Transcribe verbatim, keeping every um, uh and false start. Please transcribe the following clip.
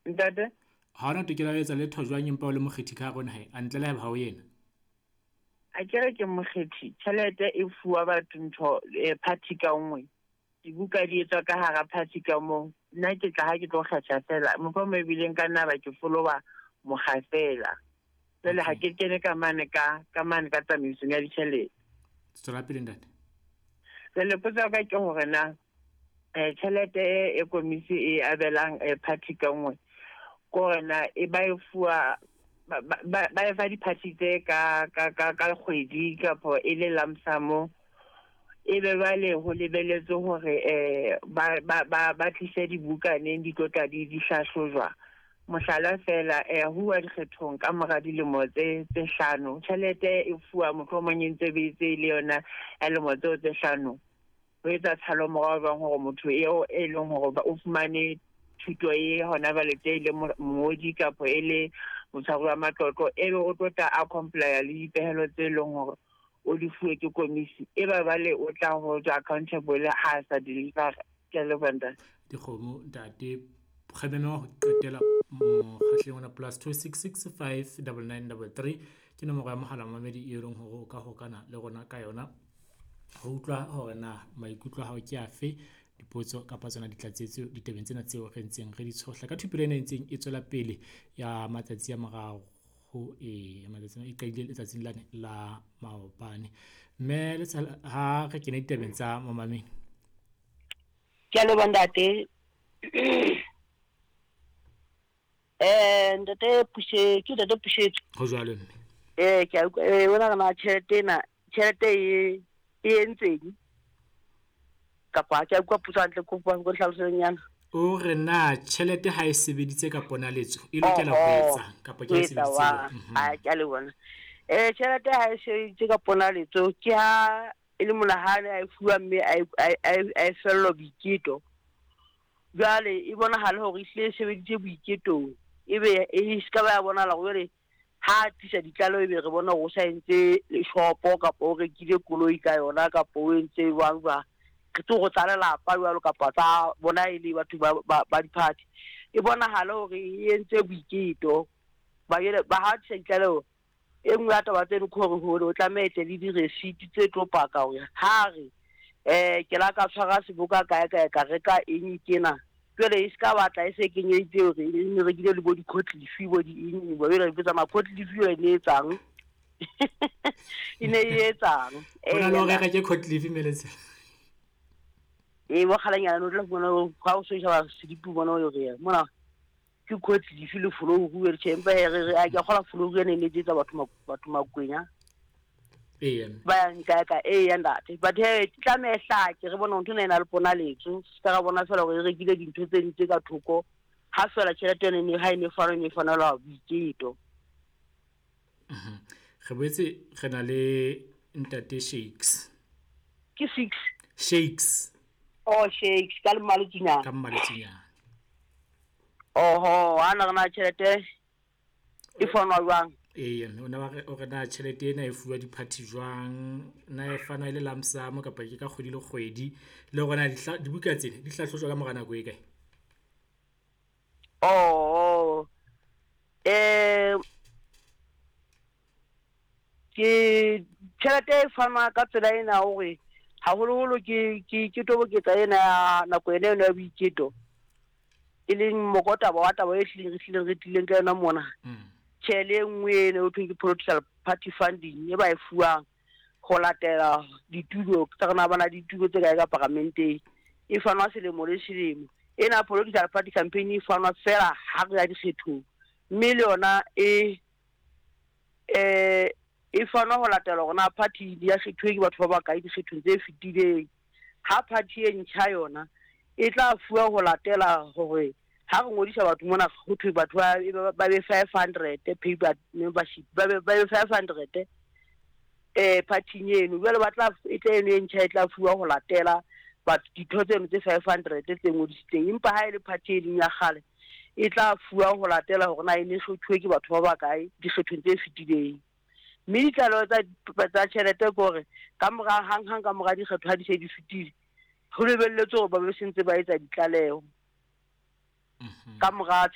Ntate? Ha ona tokelo ya ho etsa letho jwang empa o le mokgethi ka hare ho naha e? A ntle le haeba ha o yena. A ke re ke mokgethi, tjhelete e fuwa batho ntho eh, party ka nngwe. Dibuka di etswa ka hara party ka moo. Nna ke tla ha ke tlo kgetha fela. Mohlomong ebile nka nna ba ke follow-a mokga fela. Jwale ha ke kene ka mane ka ka mane ka tsamaisong ya ditjhelete. Tswela pele ntate. Jwale potso ya ka ke hore na eh tjhelete e e komisi e abelang eh, party ka nngwe ke hore na e ba e fuwa ba ba ba e fa di-party tse ka ka ka ka kgwedi kapo e le lump sum, e be jwale ho lebelletswe hore eh ba ba ba ba tlise dibuka neng di tlo tla di di hlahlojwa. Mohlala fela, eh huwa dikgethong ka mora dilemo tse tse hlano, tjhelete e fuwa mohlomong e ntse be tse le yona ya lemo tseo tse hlano. Ho etsa tshalo morao jwang hore motho eo e leng hore o fumane thuto e hona jwale tje e le mongodi kapa e le motshwari wa matlotlo, ebe o tlo tla a comply le dipehelo tse leng hore o di fuwe ke komisi, e ba jwale o tla ho tswa accountable ha a sa deliver. Ke a leboha ntate. Dikgomo ntate, kgabane wa ho qetela mokgahlelong ona plus two six six five double nine double three ke nomoro ya mohala mamedi e leng hore o ka hokana le rona ka yona ho utlwa hore na maikutlo a hao ke afe, dipotso kapa tsona ditlatsetso ditabeng tsena tseo re ntseng re di tshohla ka thupelo ena e ntseng e tswela pele ya matsatsi a mararo e matsatsi e qadile letsatsing lane la maobane. Mme le ha re kene ditabeng tsa momamedi. Ke a leboha ntate. Eh ntate Pushe, ke ntate Pushetso. Ho jwalo mme. Eh ke a utlwa, eh wena re na tjhelete ena, tjhelete e e entseng? Kapa ke a utlwa potso hantle, kopa go hlalosenyana. O re na tjhelete ha e sebeditse ka ponaletso e lokela ho etsa kapa ke e sebeditse? A ke a le bona. Eh tjhelete ha e sebeditse ka ponaletso ke ha e le monahane a e fuwa mme a a e fellwa boiketo. Jwale e bonahala hore e hlile e sebeditse boiketong, ebe e ska ba ya bonahala hore ha tlisa ditlalo ebe re bona hore o sa entse shopo kapa o rekile koloi ka yona kapa o entse jwang jwang. Re tlo go tsa lelapa jwalo kapa tsa bona e le batho ba ba di-party. E bonahala hore e entse boiketo. Ba ele ba ha tlisa ditlaleho e nngwe ya taba tseno ke hore hore o tlameha tle le di-receipt tse tlo paka hore ha re eh ke la ka tshwara seboka kae kae ka reka eng kena. Jwale e ska batla e se kenyeditse hore e ne rekile le bo di-cotleaf bo di eng, bo jwale re tsamaya cotleaf eo e ne etsang. E ne e etsang. Ho na le hore reke cotleaf meletse. E bo kgalanyana no tla bona ha o so sheba sedipi bona o re mona ke cotleaf le folouru re tjhe, empa re re a ke kgola folouru ene ne etsa batho batho makwenya. Ee. Ba nka ka e ya ntate. But he tlameha hlake re bona ntho ena e na le ponaletso. Se ka bona fela hore re rekile dintho tse ding tse ka thoko. Ha fela tjhelete ene ne ha e ne fana ne fanela boiketo. Mhm. Re boetse re na le ntate Shakes. Ke six. Shakes. Oh Shakes ka Mmaletsinyana. Ka Mmaletsinyana. Oho, ana re na tjhelete e fanwa jwang? Ee, o na ba o re na tjhelete ena e fuwa di-party jwang, na e fana e le lump sum kapa ke ka kgwedi le kgwedi, le hore na dibuka tsena di hlahlojwa ka mora nako e kae? Oh, eh ke tjhelete e fanwa ka tsela ena hore haholoholo ke ke ke toboketsa ena ya nako ena eno ya boiketo, e leng mokotaba wa taba e hlileng re hlileng re tlileng ka yona mona. Tjhelete e nngwe eno ho thweng ke political party funding e ba e fuwang ho latela ditulo tsa rona, ba na ditulo tse kae ka paramenteng, e fanwa selemo le selemo. Ena political party campaign e fanwa fela ha re ya dikgethong, mme le yona e eh e fanwa ho latela hore na party ya kgethuwe ke batho ba bakae dikgethong tse fetileng. Ha party e ntjha yona e tla fuwa ho latela hore ha re ngodisa batho mona ho thwe batho ba ba be five hundred paper membership, ba be ba be five hundred eh party eno. Jwale ba tla e tla eno e ntjha e tla fuwa ho latela batho ditho tseno tse five hundred tse ngodisitsweng. Empa ha e le party e leng ya kgale e tla fuwa ho latela hore na e ne kgethuwe ke batho ba bakae dikgethong tse fetileng. Mme ditlaleho tsa tsa tjhelete ke hore ka mora hang hang ka mora dikgetho ha di se di fetile, ho lebelletswe hore ba be se ntse ba etsa ditlaleho. Ka mora ba